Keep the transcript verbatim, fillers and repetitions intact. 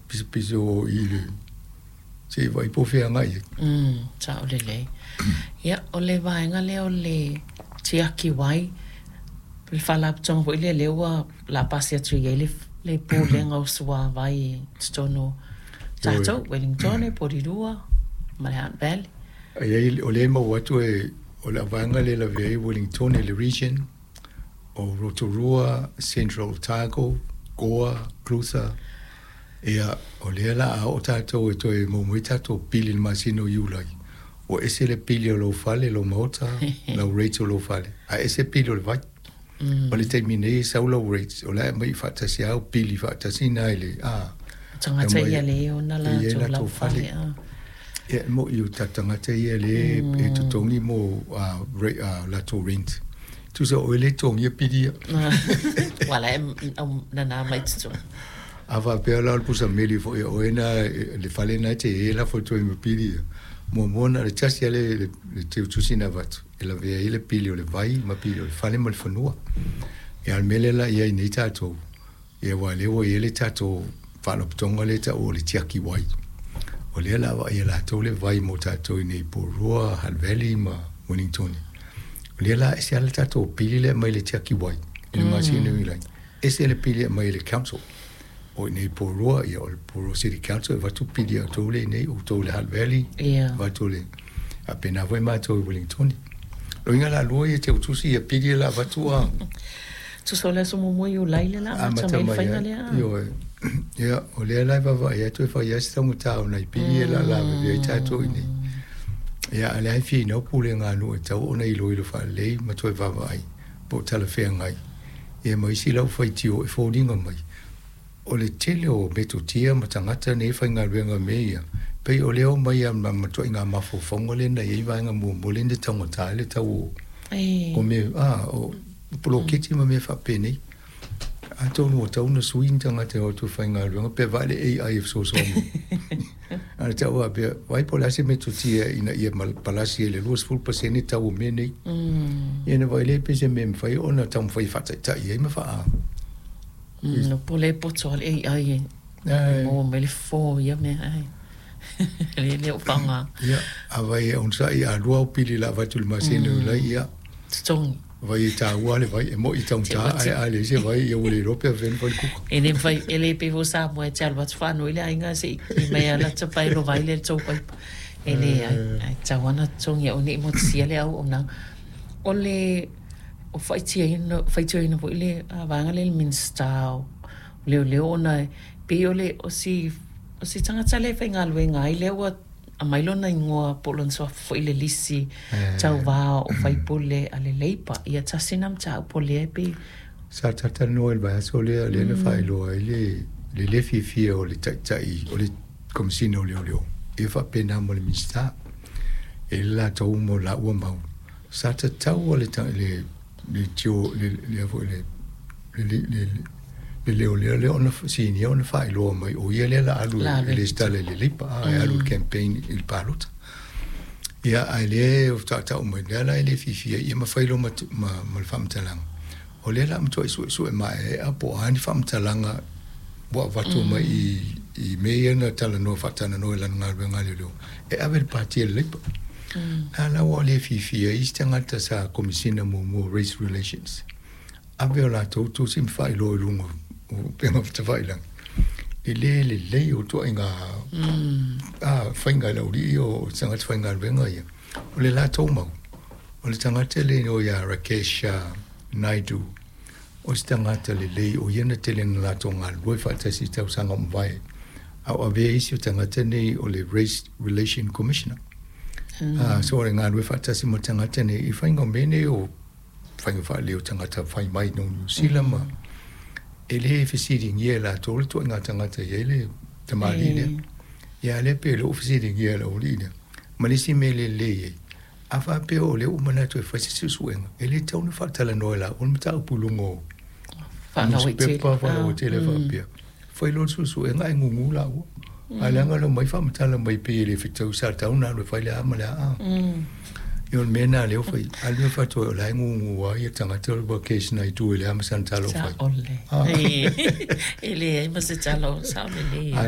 Pisopiso o i le se i vaai po o fea e agai i ai. Mm, sao lelei. Ia, o le vaega lea o le tiaki wai, le faalapotopotoga foi lea lea ua la pasi atu i ai le, le pulega o suavai i totonu o tatou, Wellington, Porirua ma le Hutt Valley. E i ai, o lea e maua atu e, o le vaega lea e lavea ai Wellington i le region o Rotorua, Central Otago, Gore, Clutha. Ia, o lea la a oo tatou e toe maua mai tatou pili i le masina o Iulai, ua ese le pili o lou fale, lou maota, lau rate o lou fale, ae ese pili o le vai. O le taimi nei e sau lau rate, o la e aumai faatasi lava au pili faatasi na i le a. Tagata ia lea e ona latou lau fale. Ia, e moni o tatou tagata ia lea e totogi mo latou rent. Tusa o oe lea e totogia pili ia. Ua la e nana mai totonu. A faapea la o le pusa meli foi a oe na, le fale na e te i ai e lafo atu ai ma pili ia. Muamua na o le tasi lava le, le teutusi na avatu e lavea ai le pili o le vai ma pili o le fale ma le fanua. Ia, a o le mea lea la i ai nei tatou, ia aua o lea ua i ai le tatou faalapotopotoga lea e taua o le tiaki wai. O lea la vaai e latou le vai mo tatou i nei i Porirua, Hutt Valley ma Wellington. O lea la ese lava le tatou pili lea e aumai le tiaki wai i le masina o Iulai, ese le pili e aumai e le council. O i nei i Porirua, ia o le Porirua City Council e avatu pili a outou lea i inei, outou i le Hutt Valley, avatu le faapena foi matou i Wellington. O uiga la lua ia teutusi ia pili la avatu a. Tusa o le aso muamua o Iulai lea la amata mai le faiga lea. Ioe. Ia, o lea la e vaavaai atu e fai lava si taugata o nai pili ia la lavevea ai tatou i inei. Ia, a o lea e finau pulega a nuu e tatau ona iloilo faalelei ma toe vaavaai po o talafeagai. Ia ma isi lau faitio e foliga mai o le tele o metotia ma tagata nei e faigaluega i mea ia, pei o lea e omai lava ma matuaiga mafaufauga lea na i ai vaega muamua lea na taugata ai le tau o mea a o poloketi ma mea faapenei. Atonu ua tatau ona sui ni tagata e o atu e faigaluega pe vaai le A I e fesoasoani mai. A o le tau faapea, vaai po o le a se metotia ina ia palasi ai i le luasefulu pasene tau o mea nei. Ia ona vaai lea pe se mea e mafai ona taumafai e faataitai ai ma faa... Mm, po o le poto a le A I e maua mai le fofo o ia mea ae le le o faaaoga. Ia, a vai e onosai a lua au pili la avatu i le masina o Iulai, ia. Totogi. Vai e taua le vai, e moni taugata ae a leai se vai, ia ua le iloa pe afea ona fai le kuka. E le mafai, e le pei foi o Samoa e te alu atu faanoi le aiga se i ki mai a lata pae lo vai lea i le tou paipa. E leai, ae tatau lava ona totogi aua ne i motusia le auaunaga. O le o faitioina faitioina foi le vaega lea i le Minisita o Leoleo ona e pei o le o si o si tagata lea e faigaluega ai lea ua aumai lona igoa po o lona suafa foi i le lisi tauva o faipule a le Labour. Ia tasi lena mataupu o lea e pei Sa talatalanoa i le vaiaso lea, lea na faailoa ai le le le fiafia o le taitai o le Komesina o Leoleo ia faapena ma le Minisita e i ai le latou ma laua mau sa tatau le le le tio le le foi le le le le leoleo lea ona sinia ona faailoa mai o ia lea la alu e resitala i le Labour a e alu i le campaign i le palota. Ia ae lea e tautau mai lea la e le fiafia ia ma fai loa ma, ma, ma le faamatalaga o lea la matuai suesue maeaea po o a ni faamatalaga ua avatu mai i i mea ia na talanoa faatalanoa i lana galuega a leoleo e ave i le pati a le Labour. La la ua le fiafia ai isi tagata sa Komesina muamua o Race Relations ave o latou tusi ma faailoa i luga o upega tafailagi e le lelei o ituaiga a faiga i le aualii o tagata faigaluega ia. O le latou mau o le tagata le igoa ia Rakesh Naidu o se tagata lelei o ia na tele na latou galulue faatasi i tausaga o mavae a o avea isi o tagata nei o le Race Relation Commissioner. Mm. So o le galulue faatasi ma tagata nei i faiga o mea nei o faiga faalelei o tagata fai mai no Niu Sila ma e le fesiligia e latou le ituaiga tagata e i ai le tamalii lea. Ia lea pe le o fesiligia e le aualii lea. Ma le isi mea lelei ai, a faapea o lea ua manatu e fai se suesuega, e le tatau ona faatalanoa e laua le mataupu i luga o newspaper faalauaitele faapea. Fai loa le suesuega ae gugu laua. Ae leaga le omai faamatala mai pei e le fetau sa tatau ona alu e fai le a ma le a. Ia o le mea lena lea ua fai, a o le mea faatoa o la e gugu lava ia tagata o le Rakesh Naidu e leai ma sana tala o fai. Sao le. E leai ma se tala o sao lelei. A